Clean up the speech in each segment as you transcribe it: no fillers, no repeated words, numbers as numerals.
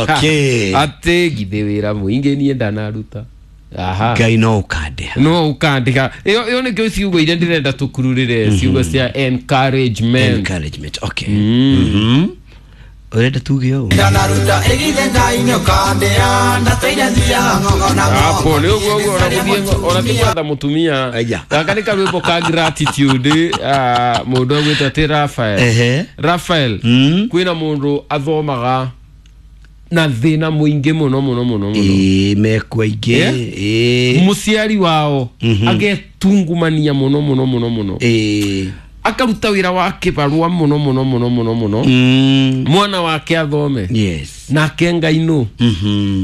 Okay. Atä githä wä ra må ingä niä ndanaruta. Aha. Ngai no ũkandĩha. No ukandika ĩyo nĩkĩo ciugo iria ndĩrenda tũkururĩre, ciugo cia encouragement. Encouragement, okay. Mhm. Ũrenda tuge ũũ? Ndanaruta ĩgithe Ngai nĩ ũkandĩha ndatũire thiaga ng'ong'o na Hapo ng'ong'o. nĩ ũguo ũguo ona gũthiĩ ona ti gwetha mũtumia. Aya. Gaka nĩ karwĩmbo ka gratitude, ah, mũndũ agwĩtwo atĩ Rafael. Ehe. Rafael. Kwĩna mũndũ athomaga na thĩna mũingĩ mũno mũno mũno mũno. Ĩĩ, mekwo aingĩ. Yeah? Ĩĩ. Mũciari wao agetungumania mũno mũno mũno mũno. Ĩĩ. Akaruta wĩra wa kĩbarũa mũno mũno mũno mũno mũno. Mwana wake athome. Yes. Nake Ngai nũ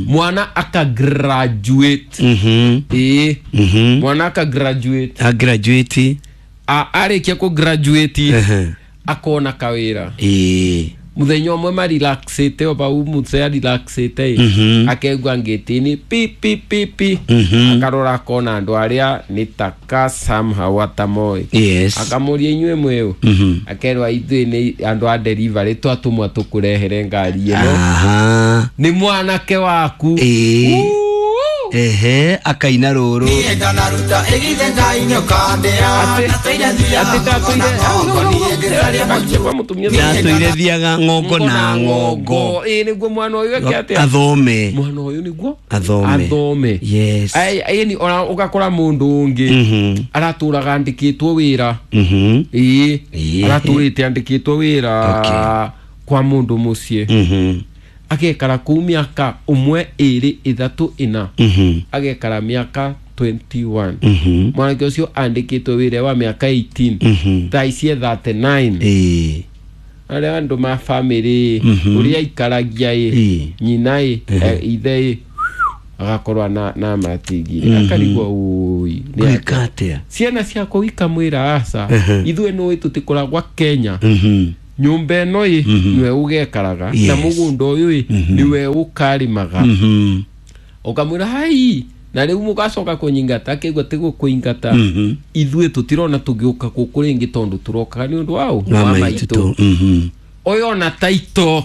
mwana aka graduate. Ĩĩ. Mwana aka graduate. A graduate. Arĩkia kũ graduate, Ehe. akona kawĩra. Ĩĩ. Muthenya ũmwe marelaxĩte o pau mũce arelaxĩte ĩ, akegua ngĩtĩ-inĩ pi pi pi pi. Akarora akona andũ arĩa nĩ taka somehow atamoĩ. Yes. Akamũria, "Inyuĩ mwĩũ?" Akerwa, "Ithuĩ nĩ andũ a delivery, twatũmwa tũkũrehere ngari ĩno." Aha. Nĩ mwanake waku. Ĩĩ. Uu! Ehe, akaina rũrũ. Niĩ ndanaruta ĩgithe Ngai nĩ ũkandĩha ndatũire thiaga Atĩ ng'ong'o na ndatũire ng'ong'o. Niĩ ngĩcaria kwa mũtumia. Ndatũire thiaga ng'ongo na ng'ongo. Ĩĩ, nĩguo mwana ũyũ eke atĩa? Athome. Mwana ũyũ nĩguo Athome. athome. Yes. Ai, ĩni ona ũgakora mũndũ ũngĩ aratũraga andĩkĩtwo wĩra. Ĩĩ. Ĩĩ. Aratũrĩte andĩkĩtwo wĩra kwa mũndũ mũciĩ. Agekara kũu mĩaka ũmwe, ĩrĩ, ĩthatũ, ĩna. Agekara mĩaka 21. Mwanake ũcio andĩkĩtwo wĩra wa mĩaka 18. Thaa ici e 39. Ĩĩ. Arĩa andũ ma bamĩrĩ ũrĩa aikaragia ĩ, nyina ĩ, ithe ĩ, agakorwo na matigire, akarigwo ũi nĩ Gwĩka atĩa? Ciana ciakwa ikamwĩra, "Aca, ithuĩ nũĩ tũtikoragwa Kenya. Nyũmba ĩno ĩ nĩwe ũgekaraga na mũgũnda ũyũ ĩ nĩwe ũkarĩmaga." Ũkamwĩra, "Hai, na rĩu mũgacoka kũnyingata?" Akĩigua tĩgũkũingata, ithuĩ tũtirona tũgĩũka gũkũ rĩngĩ tondũ tũrokaga nĩ ũndũ waũ? Wa maitũ. Ũyũ ona taito.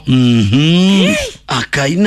Akaina.